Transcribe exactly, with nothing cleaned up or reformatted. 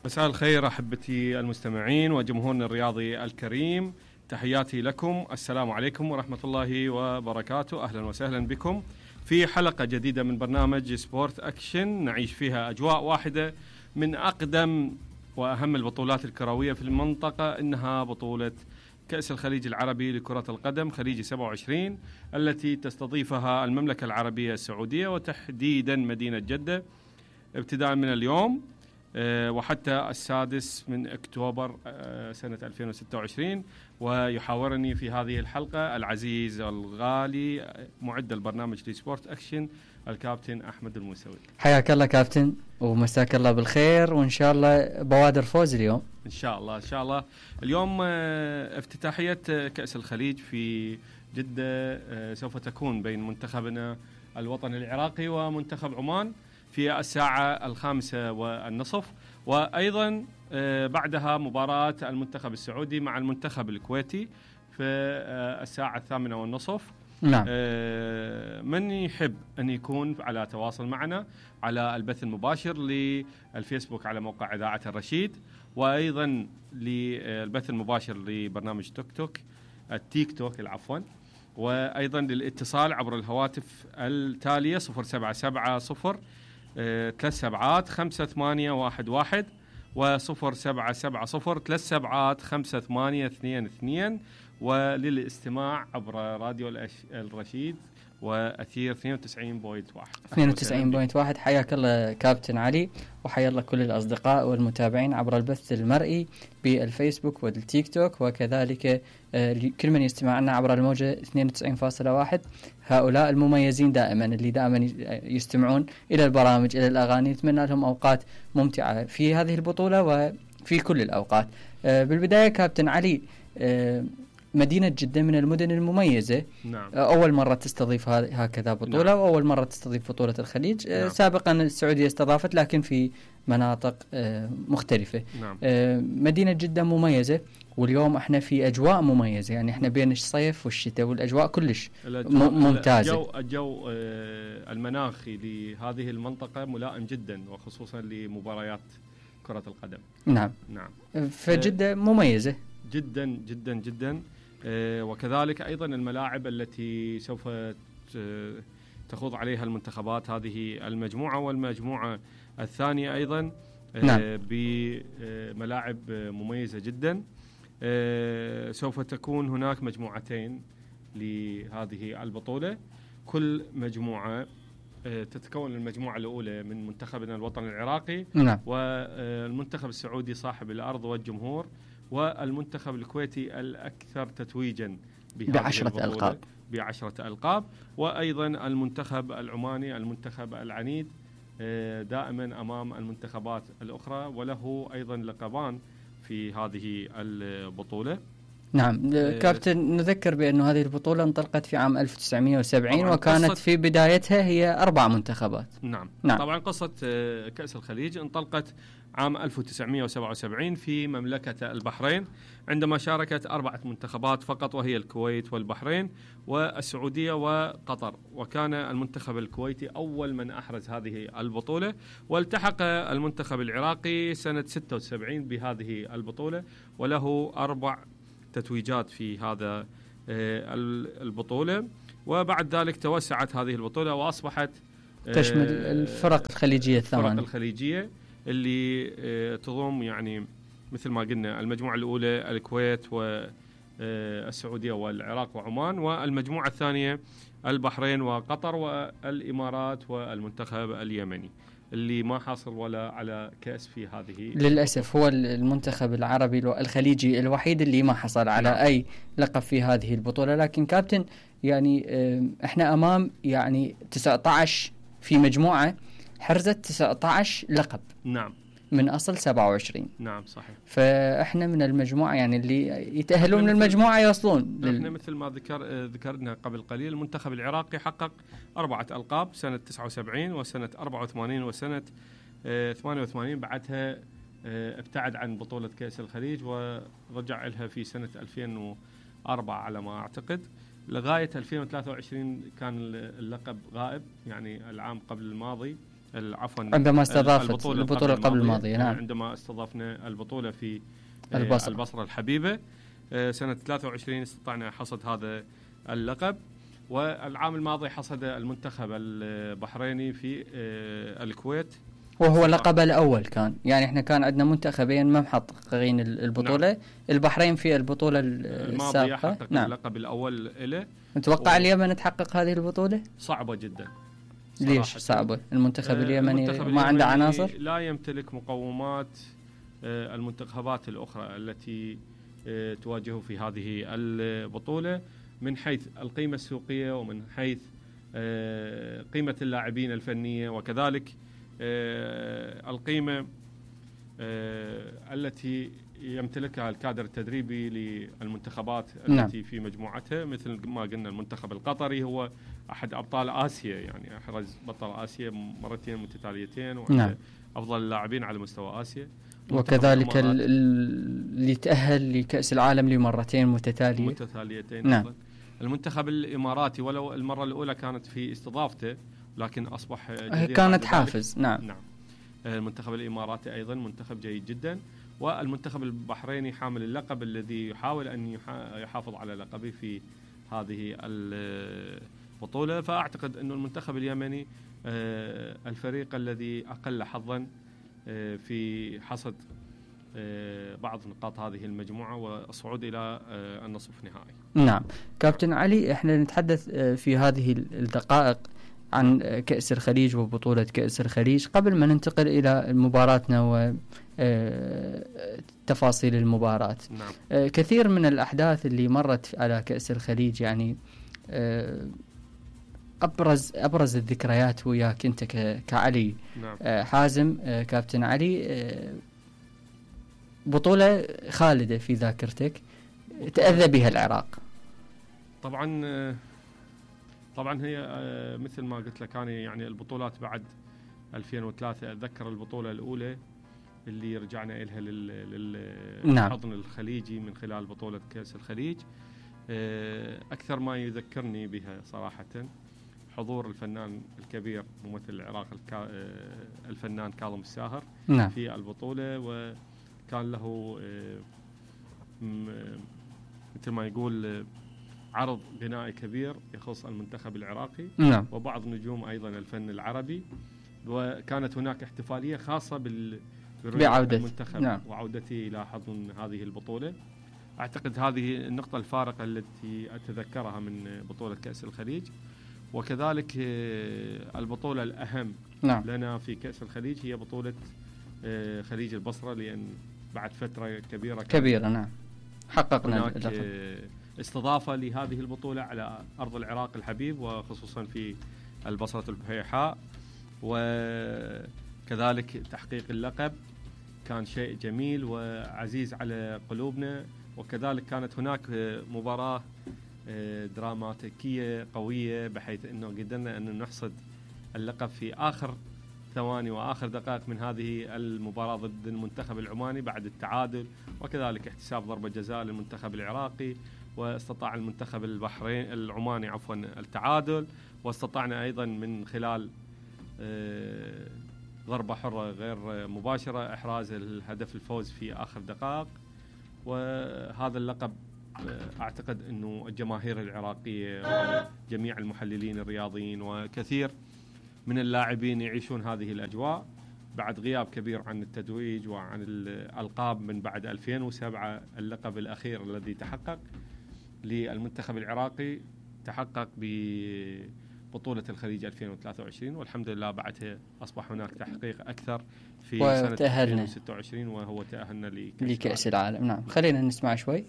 مساء الخير أحبتي المستمعين وجمهورنا الرياضي الكريم، تحياتي لكم، السلام عليكم ورحمة الله وبركاته. أهلا وسهلا بكم في حلقة جديدة من برنامج سبورت أكشن، نعيش فيها أجواء واحدة من أقدم وأهم البطولات الكروية في المنطقة، إنها بطولة كأس الخليج العربي لكرة القدم خليج سبعة وعشرين التي تستضيفها المملكة العربية السعودية وتحديدا مدينة جدة ابتداء من اليوم وحتى السادس من أكتوبر سنة ألفين وستة وعشرين. ويحاورني في هذه الحلقة العزيز الغالي معد البرنامج لسبورت أكشن الكابتن أحمد الموسوي. حياك الله كابتن ومساك الله بالخير، وإن شاء الله بوادر فوز اليوم إن شاء الله. إن شاء الله اليوم افتتاحية كأس الخليج في جدة سوف تكون بين منتخبنا الوطني العراقي ومنتخب عمان في الساعة الخامسة والنصف، وأيضا بعدها مباراة المنتخب السعودي مع المنتخب الكويتي في الساعة الثامنة والنصف. نعم. من يحب أن يكون على تواصل معنا على البث المباشر للفيسبوك على موقع إذاعة الرشيد، وأيضا للبث المباشر لبرنامج توك توك التيك توك العفوا، وأيضا للاتصال عبر الهواتف التالية صفر سبعة سبعة صفر ثلاث سبعات خمسة ثمانية واحد واحد وصفر سبعة سبعة صفر ثلاث سبعات خمسة ثمانية اثنين اثنين، وللاستماع عبر راديو الرشيد وأثير اثنين وتسعين فاصلة واحد اثنين وتسعين فاصلة واحد. حياك الله كابتن علي، وحيا الله كل الأصدقاء والمتابعين عبر البث المرئي بالفيسبوك والتيك توك، وكذلك كل من يستمع لنا عبر الموجة اثنين وتسعين فاصلة واحد. هؤلاء المميزين دائما اللي دائما يستمعون إلى البرامج إلى الأغاني، نتمنى لهم أوقات ممتعة في هذه البطولة وفي كل الأوقات. بالبداية كابتن علي، مدينة جدة من المدن المميزة. نعم. أول مرة تستضيف هكذا بطولة. نعم. وأول مرة تستضيف بطولة الخليج. نعم. سابقا السعودية استضافت لكن في مناطق مختلفة. نعم. مدينة جدة مميزة، واليوم احنا في أجواء مميزة، يعني احنا بين الصيف والشتاء والأجواء كلش ممتازة. الجو, الجو المناخي لهذه المنطقة ملائم جدا، وخصوصا لمباريات كرة القدم. نعم. نعم. فجدة مميزة جدا جدا جدا. آه وكذلك أيضا الملاعب التي سوف تخوض عليها المنتخبات، هذه المجموعة والمجموعة الثانية أيضا آه نعم. بملاعب مميزة جدا. آه سوف تكون هناك مجموعتين لهذه البطولة، كل مجموعة آه تتكون المجموعة الأولى من منتخبنا الوطني العراقي. نعم. والمنتخب السعودي صاحب الأرض والجمهور، والمنتخب الكويتي الأكثر تتويجا بعشرة ألقاب بعشرة ألقاب وأيضا المنتخب العماني المنتخب العنيد دائما أمام المنتخبات الأخرى، وله أيضا لقبان في هذه البطولة. نعم. كابتن، نذكر بأن هذه البطولة انطلقت في عام ألف وتسعمائة وسبعين وكانت في بدايتها هي أربع منتخبات. نعم. نعم. طبعا قصة كأس الخليج انطلقت عام ألف وتسعمائة وسبعة وسبعين في مملكة البحرين، عندما شاركت أربعة منتخبات فقط، وهي الكويت والبحرين والسعودية وقطر، وكان المنتخب الكويتي أول من أحرز هذه البطولة، والتحق المنتخب العراقي سنة ستة وسبعين بهذه البطولة، وله أربع تتويجات في هذا البطولة. وبعد ذلك توسعت هذه البطولة وأصبحت تشمل الفرق الخليجية الثمانية، الفرق الخليجية اللي تضم يعني مثل ما قلنا المجموعة الأولى الكويت والسعودية والعراق وعمان، والمجموعة الثانية البحرين وقطر والإمارات والمنتخب اليمني اللي ما حصل ولا على كأس في هذه. للأسف هو المنتخب العربي الخليجي الوحيد اللي ما حصل على نعم. أي لقب في هذه البطولة. لكن كابتن، يعني احنا أمام يعني تسعة عشر في مجموعة حرزت تسعة عشر لقب. نعم. من أصل سبعة وعشرين. نعم صحيح. فإحنا من المجموعة يعني اللي يتأهلون من المجموعة يوصلون. إحنا مثل ما ذكر ذكرنا قبل قليل، المنتخب العراقي حقق أربعة ألقاب سنة تسعة وسبعين وسنة أربعة وثمانين وسنة ثمانية وثمانين، بعدها ابتعد عن بطولة كأس الخليج ورجع لها في سنة ألفين وأربعة على ما أعتقد، لغاية ألفين وثلاثة وعشرين كان اللقب غائب، يعني العام قبل الماضي عفوا عندما استضافت البطولة, البطولة قبل الماضية. نعم. عندما استضفنا البطولة في البصرة, البصرة الحبيبة سنة ثلاثة وعشرين استطعنا حصد هذا اللقب. والعام الماضي حصد المنتخب البحريني في الكويت وهو لقب الأول كان، يعني احنا كان عندنا منتخبين ما محققين البطولة. نعم. البحرين في البطولة السابقة حقق نعم. اللقب الأول له. نتوقع و... اليمن تحقق هذه البطولة؟ صعبة جدا. ليش صعبة؟ المنتخب اليمني المنتخب ما عنده عناصر؟ لا يمتلك مقومات المنتخبات الأخرى التي تواجهه في هذه البطولة من حيث القيمة السوقية ومن حيث قيمة اللاعبين الفنية، وكذلك القيمة التي يمتلكها الكادر التدريبي للمنتخبات التي نعم. في مجموعتها، مثل ما قلنا المنتخب القطري هو أحد أبطال آسيا، يعني أحرز بطل آسيا مرتين متتاليتين وأحد نعم. أفضل اللاعبين على مستوى آسيا. وكذلك اللي تأهل لكأس العالم لمرتين متتالية متتاليتين نعم. المنتخب الإماراتي ولو المرة الأولى كانت في استضافته لكن أصبح كانت حافز نعم. نعم. المنتخب الإماراتي أيضا منتخب جيد جدا، والمنتخب البحريني حامل اللقب الذي يحاول أن يحافظ على لقبه في هذه البطولة. فأعتقد أن المنتخب اليمني الفريق الذي أقل حظا في حصد بعض نقاط هذه المجموعة والصعود إلى النصف النهائي. نعم كابتن علي، احنا نتحدث في هذه الدقائق عن كأس الخليج وبطولة كأس الخليج قبل ما ننتقل إلى مباراتنا وتفاصيل المباراة. نعم. كثير من الأحداث اللي مرت على كأس الخليج، يعني أبرز أبرز الذكريات وياك أنت كعلي. نعم. حازم كابتن علي، بطولة خالدة في ذاكرتك تأذى بها العراق. طبعا طبعا هي مثل ما قلت لك أنا، يعني البطولات بعد ألفين وثلاثة أتذكر البطولة الأولى اللي رجعنا إلها للحضن نعم. الخليجي من خلال بطولة كأس الخليج. أكثر ما يذكرني بها صراحة حضور الفنان الكبير ممثل العراق الفنان كاظم الساهر نعم. في البطولة، وكان له مثل ما يقول عرض غنائي كبير يخص المنتخب العراقي نعم. وبعض نجوم أيضا الفن العربي، وكانت هناك احتفالية خاصة بال بعودة المنتخب نعم. وعودتي إلى حضن هذه البطولة. أعتقد هذه النقطة الفارقة التي أتذكرها من بطولة كأس الخليج. وكذلك البطولة الأهم نعم. لنا في كأس الخليج هي بطولة خليج البصرة، لأن بعد فترة كبيرة كبيرة نعم حققنا هناك استضافة لهذه البطولة على أرض العراق الحبيب، وخصوصا في البصرة البحيحاء، وكذلك تحقيق اللقب كان شيء جميل وعزيز على قلوبنا. وكذلك كانت هناك مباراة دراماتيكية قوية بحيث أنه قدرنا أن نحصد اللقب في آخر ثواني وآخر دقائق من هذه المباراة ضد المنتخب العماني بعد التعادل، وكذلك احتساب ضربة جزاء للمنتخب العراقي، واستطاع المنتخب البحرين العماني عفوا التعادل، واستطعنا أيضا من خلال ضربة حرة غير مباشرة إحراز الهدف الفوز في آخر دقائق. وهذا اللقب أعتقد أنه الجماهير العراقية وجميع المحللين الرياضيين وكثير من اللاعبين يعيشون هذه الأجواء بعد غياب كبير عن التتويج وعن الألقاب من بعد ألفين وسبعة. اللقب الأخير الذي تحقق للمنتخب العراقي تحقق ببطولة الخليج ألفين وثلاثة وعشرين، والحمد لله بعدها أصبح هناك تحقيق أكثر في سنة ألفين وستة وعشرين وهو تأهلنا لكأس, لكأس العالم. نعم خلينا نسمع شوي.